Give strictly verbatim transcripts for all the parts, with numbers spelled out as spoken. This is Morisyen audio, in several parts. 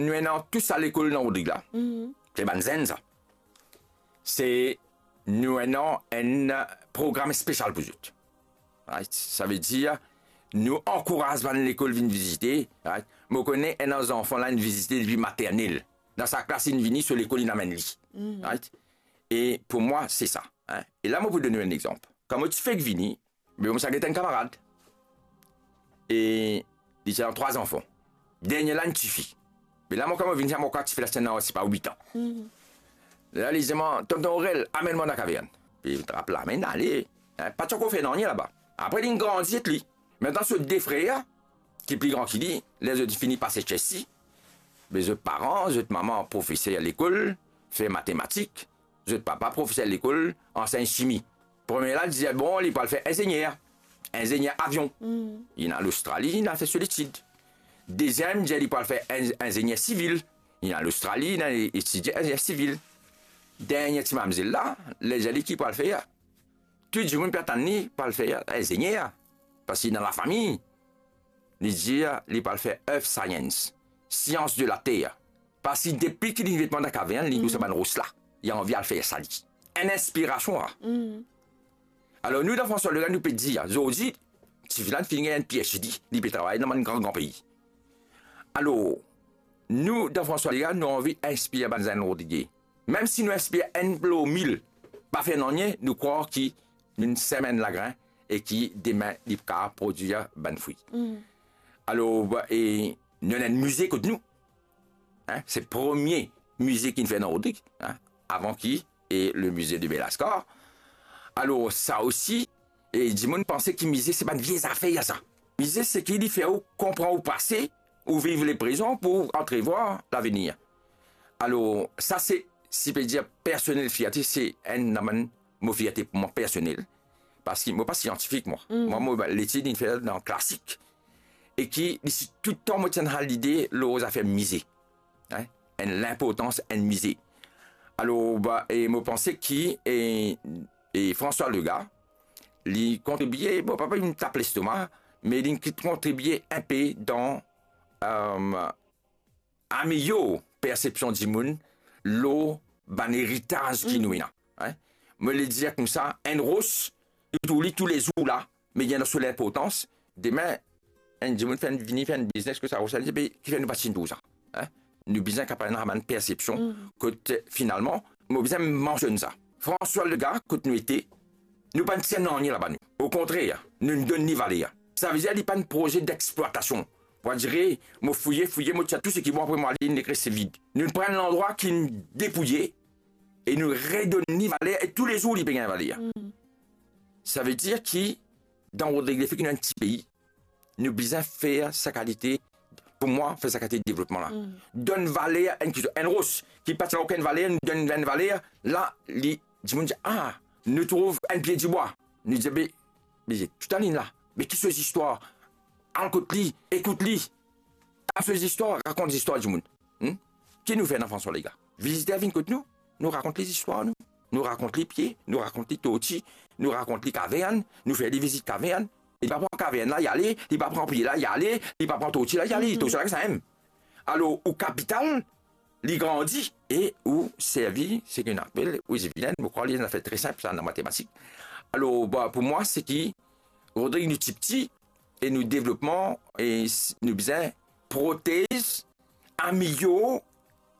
nou ena tou sa lekol dan Rodrig la. Se bann zenn sa. Se nou ena enn program spesial pou zot. Right? Savedir, nou ankouraz bann lekol vinn vizite, right? Mo kone enn zanfan la inn vizite depi maternel. Dan sa klas inn vini, so lekol inn amenn li. Right? E pou mwa, se sa, hein. E la, mo pou donn ou enn exanp. Kan mo ti fek vini, be mo ti al get enn kamarad. E li ti ena trwa zanfan. Dernie la, enn tifi. Me la, mo, kan mo vinn, sa mo krwar tifi la ti ena, se pa, wit an. La, li dir mwa, "Tonton Aurel, amenn mwa dan kavern." Be mo trap la, amenn, ale. Hein, pa ti ankor fer nanye laba. Apre, linn grandi ek li. Aster so de frer, ki pli gran ki li, ler zot fini pase H S C, be zot paran, zot mama profeser lekol, fer matematik, zot papa profeser lekol, ansegn simi. Premie la dir, bon, li pou al fer inzegner, inzegner avion. Li inn al Ostrali, li inn al fer so letid. Deziem dir li pou al fer in-, inzegner sivil. Li inn al Ostrali, li inn al etidie inzegner sivil. Dernie ti mamzel la, ler dir li ki pou al fer, tou dimoun pe atann li pou al fer inzegner, parski dan lafami, li dir li pou al fer earth science, sians de later. Parski depi ki li met mwa dan kavern, li trouv sa bann ros la, li anvi al fer sa li. Enn inspirasion la. Alor, nou, dan François Legaye, nou pe dir, zordi, tifi la finn gagn enn P H D, li pe travay dan bann gran, gran pei. Alor, nou, dan François Legaye, nou anvi inspir bann zenn Rodrige. Mem si nou inspir enn lor mil, pa fer nanye, nou krwar ki nou sem enn lagrin e ki demin li pou kapav prodwir bann fri. Alor, ba, e nou ena enn mize kot nou. Hein, se premie mize ki finn fer dan Rodrig, hein, avan ki, e le mize de Belascar. Alor, sa osi, e dimoun panse ki mize se bann vie zafer sa. Mize se ki li fer ou konpran ou pase, ou viv le prezan pou antrevwar lavenir. Alor, sa se, si pe dir, personel fierte, se enn dan bann mo fierte pou mwa personel. Parski mo pa siantifik, mwa. Mwa, mo, letid inn fer dan klasik. E ki, li si touletan mo ti ena lide lor zafer mize. Hein? Enn linportans enn mize. Alor, ba, e mo panse ki, e, e François Legaye, li kontribie, bon, pa pou tap lestoma, me li kontribie enpe dan, euh, amelior persepsion dimoun lor bann eritaz ki nou ena, hein. Mo le dir koumsa, enn ros, nou trouv li toulezour la, me li ena so linportans. Demin, enn dimoun fer enn, vini fer enn biznes kot sa ros la, li dir, "Be, kifer nou pa ti trouv sa?" Hein? Nou bizin kapav ena bann persepsion kot, finalman, mo bizin mansionn sa. François Legaye, kot nou ete, nou pa'nn tir nanye laba nou. Okontrer, nou donn li valer. Savedir li pa'nn proze dexplwatasion. Pou dir, mo fouye, fouye, mo tir tou seki bon, apre mo ale, li res vid. Nou pran landrwa ki depouye e nou redonn li valer e toulezour li pe gagn valer. Savedir ki dan Rodrig, lefe ki nou enn ti pei, nou bizin fer sa kalite, pou mwa, fer sa kalite devlopman la. Donn valer enn ki, enn ros ki pa ti ena okenn valer, nou donn enn valer, la, li, dimoun dir, "Ah, nou trouv enn pie dibwa." Nou dir, "Be, be, toutalinn la, be ki so zistwar? Al kot li, ekout li. Tap so zistwar, rakont zistwar dimoun." Hmm? Ki nou fer dan François Legaye? Viziter vinn kot nou, nou rakont li zistwar nou. Nou rakont li pie, nou rakont li torti, nou rakont li kavern, nou fer li vizit kavern. Li pa pran kavern la, li ale, li pa pran pie la, li ale, li pa pran torti la, li ale, torti la, sa mem. Alor, ou kapital, li grandi, e ou servi, seki nou apel, ou zivilen, mo krwar li enn zafer tre sinp, sa, dan matematik. Alor, ba, pou mwa, seki Rodrig, nou ti piti, e nou devlopman, e s-, nou bizin protez, amelior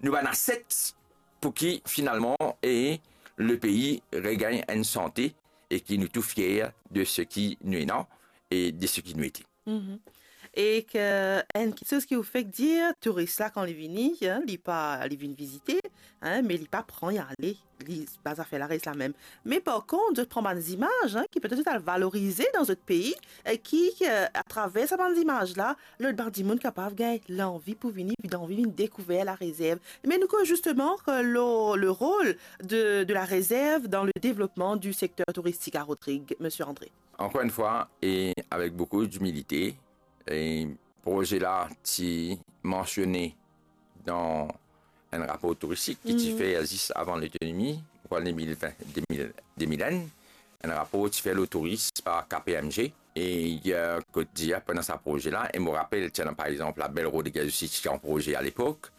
nou bann aset pou ki finalman, e le pei regagn enn sante e ki nou tou fier de seki nou ena e de seki nou ete. Mhm. E ke enn kiksoz ki ou fek dir, touris la kan li vini, hein, li pa, li vinn vizite, hein, me li pa pran, li ale, li, bann zafer la res lamem. Me par kont, zot pran bann zimaz, hein, ki petet zot al valorize dan zot pei, e ki, e, atraver sa bann zimaz la, lot bann dimoun kapav gagn lanvi pou vini, anvi vinn dekouver larezerv. Me nou koz zisteman, e, le, le rol de, de larezerv dan le devlopman di sekter touristik a Rodrig, Misie André. Encore une fois, et avec beaucoup d'humilité, e proze la ti mansione dan enn rapor touristik ki ti fer zis avan lotonomi, an de mil ven, de mil, de mil enn, enn rapor ti fer lor touris par K P M G. E, e, kot dir, pandan sa proze la, e mo rapel, ti ena, par exanp, Label Rodriguez osi ti an proze a lepok,